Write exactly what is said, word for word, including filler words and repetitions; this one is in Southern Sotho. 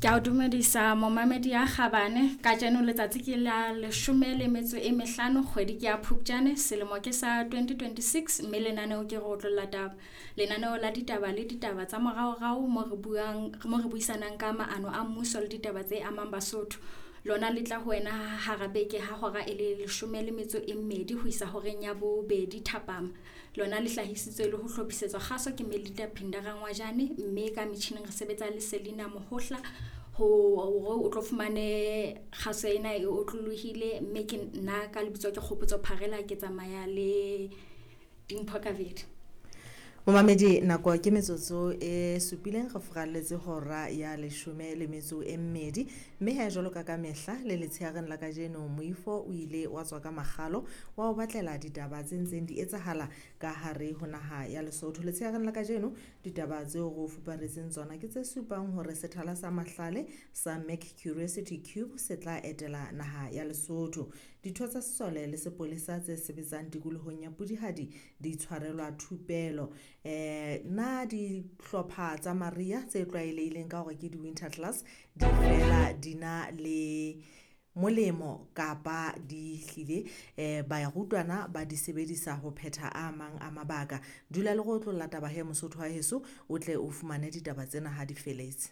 Ke a o dumedisa momamedi ya kgabane. Kajeno letsatsi ke la leshome le metso e mehlano, kgwedi ke ya Phupjane, selemo ke sa twenty twenty-six, mme lenaneo ke re otlolla taba. Lenaneo la ditaba le ditaba tsa moraorao mo re buang mo re buisanang ka maano a mmuso le ditaba tse amang Basotho. Lona le tla ho wena hara beke ha hora e le leshome le metso e mmedi ho isa horeng ya bobedi thapama. Lona le hlahisitswe le ho hlophisetswa kgaso ke Melita Phinda Rangwajane, mme ka metjhining re sebetsa le Selina Mohohla ho hore o tlo fumane kgaso ena e otlolohile, mme ke nna ka lebitso ke Kgopotso Pharela, ke tsamaya le Dimpho Kabedi. Momamedi, nako ke metsotso e supileng re furalletse hora ya leshome le metso e mmedi, mme he jwalo ka ka mehla le letsheareng la kajeno moifo o ile wa tswa ka makgalo wa o batlela ditaba tse ntseng di etsahala ka hare ho naha ya Lesotho. Letsheareng la kajeno ditaba tseo re o fuparetseng tsona ke tse supang hore sethala sa mahlale sa Mac Curiosity Cube se tla etela naha ya Lesotho. Ditho tsa sesole le sepolesa tse sebetsang tikolohong ya Pudihadi di tshwarelwa thupelo. Eh na dihlopha tsa mariha tse tlwaelehileng ka hore ke di-winter class di fela di na le molemo kapa di hlile eh barutwana ba di sebedisa ho phetha a mang a mabaka. Dula le go otlolla taba he Mosotho wa heso, o tle o fumane ditaba tsena ha di feletse.